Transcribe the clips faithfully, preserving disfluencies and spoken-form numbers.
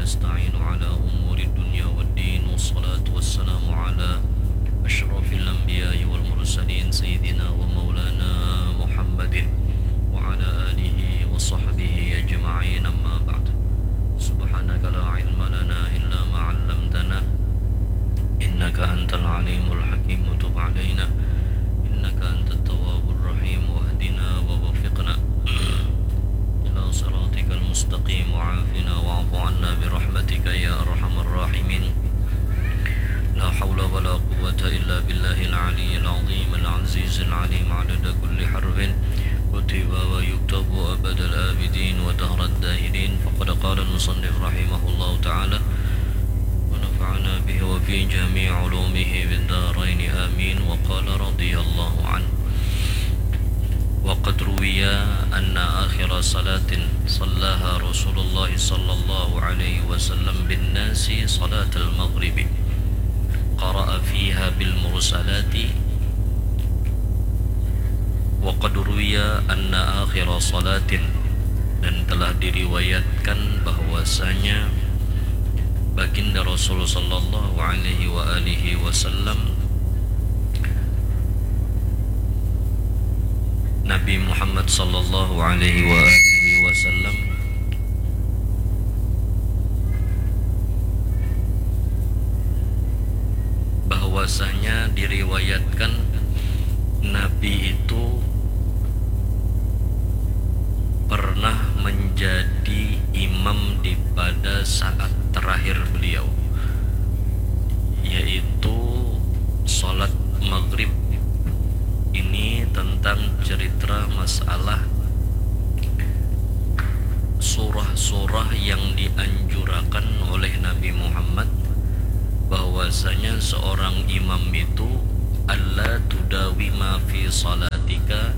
المستعين على أمور الدنيا والدين، والصلاة والسلام على أشرف الأنبياء والمرسلين سيدنا ومولانا محمد وعلى آله وصحبه أجمعين، أما بعد. سبحانك لا علم لنا إلا ما علمتنا، إنك أنت العليم الحكيم، وتب علينا إنك أنت التواب الرحيم، واهدنا ووفقنا إلى صراطك المستقيم، وعافنا واعف عنا برحمتك يا أرحم الراحمين. لا حول ولا قوة إلا بالله العلي العظيم العزيز العليم، عدد كل حرف كتب ويكتب أبد الآبدين ودهر الداهرين. فقد قال المصنف رحمه الله تعالى، ونفعنا به وفي جميع علومه في الدارين، آمين. وقال رضي الله عنه، وقد روي أن آخر صلاة صلاها رسول الله صلى الله عليه وسلم بالناس صلاة المغرب، قرأ فيها بالمرسلات. وقد روي أن آخر صلاة، dan telah diriwayatkan bahwasanya Baginda Rasul sallallahu alaihi wa alihi wasallam, Nabi Muhammad sallallahu alaihi wa alihi wasallam, bahwasanya diriwayatkan Nabi itu pernah menjadi imam di pada saat terakhir beliau, yaitu salat maghrib. Ini tentang cerita masalah surah-surah yang dianjurakan oleh Nabi Muhammad, bahwasanya seorang imam itu alla tudawima fi salatika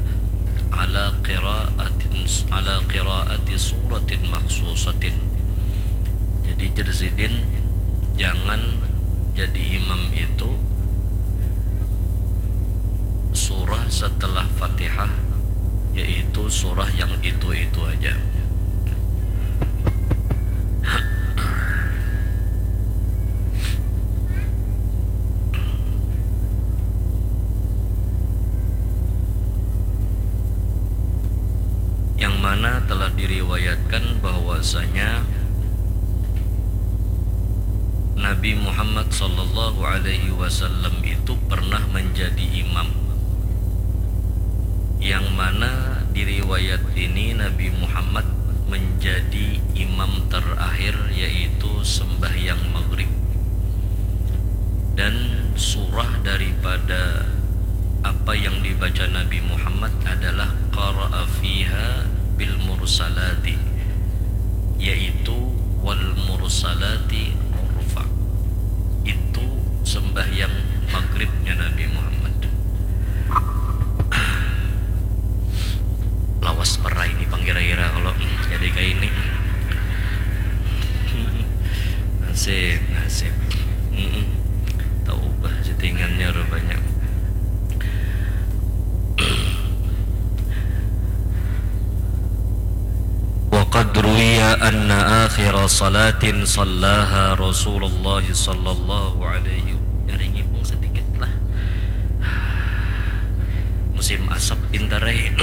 ala qiraatin, ala qiraati suratin makhsusatin. Jadi, jar sidin, jangan jadi imam itu surah setelah Fatihah, yaitu surah yang itu-itu aja. Yang mana telah diriwayatkan bahwasanya Nabi Muhammad sallallahu alaihi wasallam itu pernah menjadi imam, yang mana di riwayat ini Nabi Muhammad menjadi imam terakhir, yaitu sembahyang maghrib. Dan surah daripada apa yang dibaca Nabi Muhammad adalah qara'a fiha bil mursalati, yaitu wal mursalati urfa. Itu sembahyang maghribnya Nabi Muhammad. Lawas perai ini panggira-gira kalau jadi kayak ini. Nasib, nasib. Mm-mm. Tahu bah settingannya rupanya. Wa qad ruwiya anna akhira salatin sallaha Rasulullah sallallahu alaihi. Nyari ngipung sedikit lah. Musim asap pintar eh.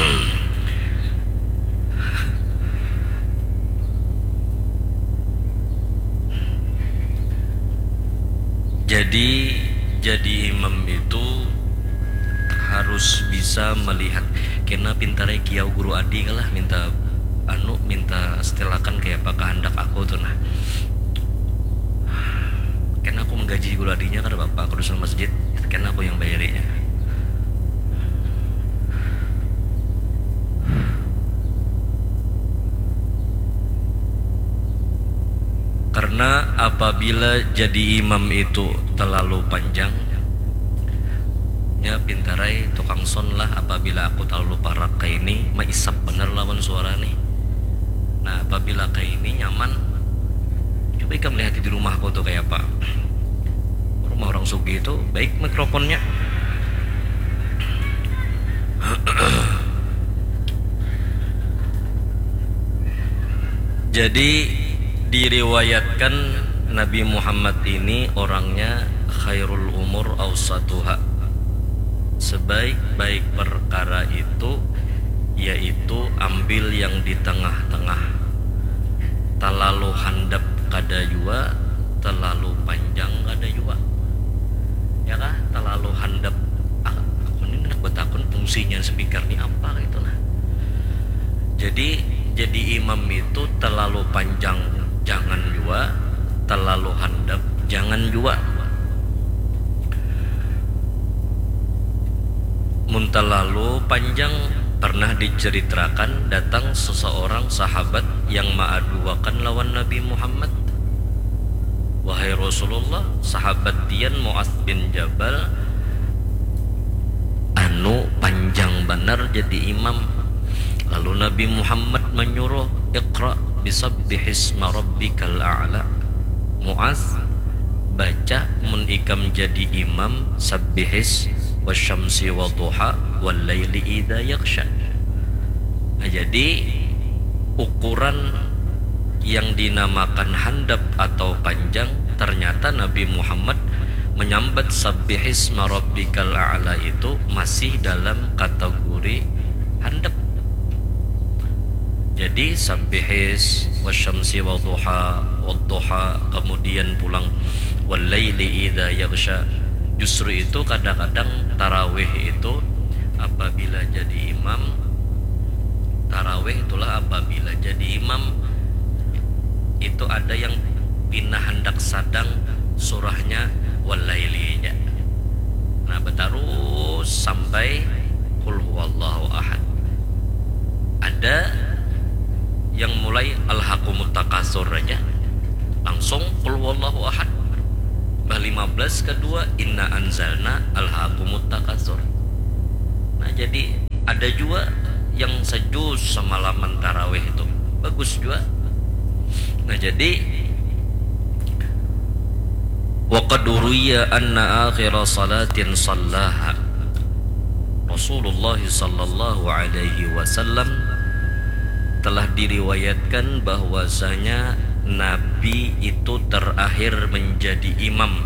Jadi, jadi imam itu harus bisa melihat. Kena pintarai kiau guru adi kalah minta anu, minta setilakan kayak apa kehendak aku tuh nah. Kena aku menggaji guru adinya kada apa-apa, aku dusun masjid, kena aku yang bayarinya. Karena apabila jadi imam itu terlalu panjang, ya pintarai tukang son lah, apabila aku terlalu parak kayak ini, maisap bener lawan suara nih. Nah, apabila kayak ini nyaman, coba ikam lihat di rumahku tuh kayak apa. Rumah orang sugih itu baik mikrofonnya. Jadi, Diriwayatkan Nabi Muhammad ini orangnya khairul umur awsatuha. Sebaik-baik perkara itu yaitu ambil yang di tengah-tengah. Terlalu handap kada jua, terlalu panjang kada jua. Ya kah? Terlalu handap. Ah, aku ni handak batakun fungsinya speaker ni apa gitu nah. Jadi jadi imam itu terlalu panjang jangan jua, terlalu handap jangan jua. Mun terlalu panjang, pernah diceritakan datang seseorang sahabat yang maaduakan lawan Nabi Muhammad. Wahai Rasulullah, sahabat pian Muaz bin Jabal anu panjang banar jadi imam. Lalu Nabi Muhammad menyuruh, "Iqra bisabbihisma rabbikal a'la." Muaz, baca mun ikam jadi imam Sabbihis, wasyamsi wadhuha, wal laili idza yaghsya. Nah, jadi ukuran yang dinamakan handap atau panjang, ternyata Nabi Muhammad menyambat Sabbihisma Rabbikal A'la itu masih dalam kategori handap. Jadi Sabbihis, wasyamsi wadhuha, wadhuha, kemudian pulang wal laili idza yaghsya. Justru itu kadang-kadang tarawih itu apabila jadi imam, tarawih itulah apabila jadi imam itu ada yang pina handak sadang surahnya walaili ja. Nah, batarus sampai qul huwallahu ahad. Ada yang mulai alhaqumut takasur aja, langsung qul huwallahu ahad. Bah lima belas kedua inna anzalna alhaqumut takasur. Nah, jadi ada juga yang sejus semalaman tarawih itu bagus juga. Nah, jadi wa qad ruwiya anna akhira salatin sallaha Rasulullah sallallahu alaihi wasallam, telah diriwayatkan bahwasanya Nabi itu terakhir menjadi imam,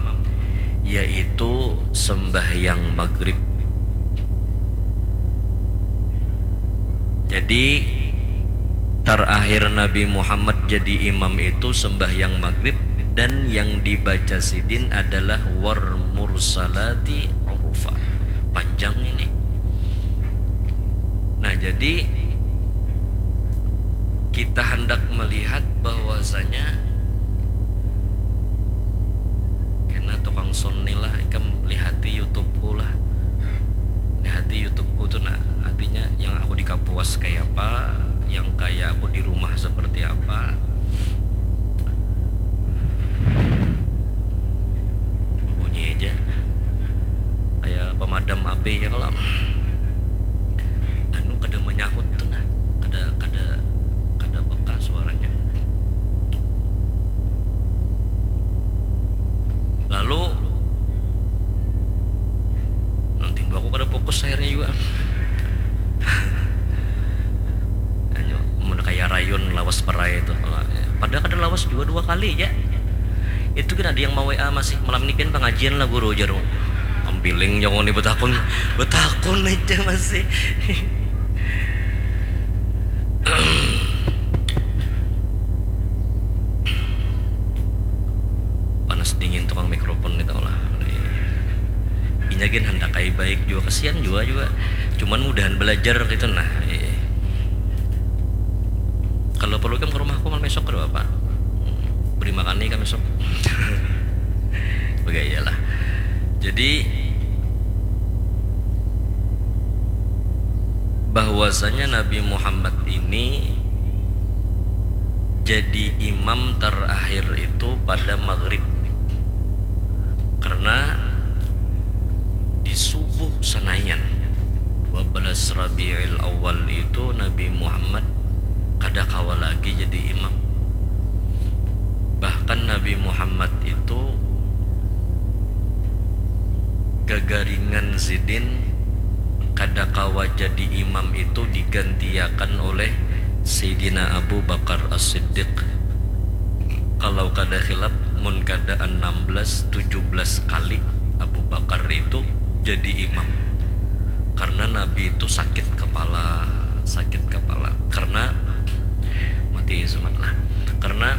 yaitu sembahyang maghrib. Jadi terakhir Nabi Muhammad jadi imam itu sembahyang maghrib, dan yang dibaca sidin adalah war mursalati urfa. Panjang ini. Nah, jadi kita hendak melihat bahwasanya kena tukang sound ni lah, ikam lihati YouTube-ku lah. Lihati YouTube-ku tu nah, artinya yang aku di kapuas kayak apa, yang kayak aku di rumah seperti apa. Bunyi aja kayak pemadam api ya kalau anu kada menyahut tuh nah, kada kada kada peka suaranya. Lalu nanti aku kada fokus akhirnya juga. Hanya mun kayak rayun lawas perai itu. Padahal kada lawas juga dua kali ya. Itu kan ada yang mau W A masih, "Malam ini pian pengajian lah guru," jar. Ampiling jago ni betakun, betakun aja masih. Panas dingin tukang mikrofon ni tahu lah. Inya gin handak ai baik juga, kasihan juga juga. Cuman mudahan belajar gitu nah. Kalau perlu kam ke rumahku malam esok kada apa. Beri makan nih kami sok. Begaya lah. Jadi bahwasanya Nabi Muhammad ini jadi imam terakhir itu pada maghrib, karena di subuh sanayan dua belas Rabiul Awal itu Nabi Muhammad kada kawa lagi jadi imam. Bahkan Nabi Muhammad itu gagaringan sidin kada kawa jadi imam itu digantiakan oleh Sayyidina Abu Bakar As-Siddiq. Kalau kada khilaf, mun kada enam belas, tujuh belas kali Abu Bakar itu jadi imam. Karena Nabi itu sakit kepala, sakit kepala. Karena mati semat lah. Karena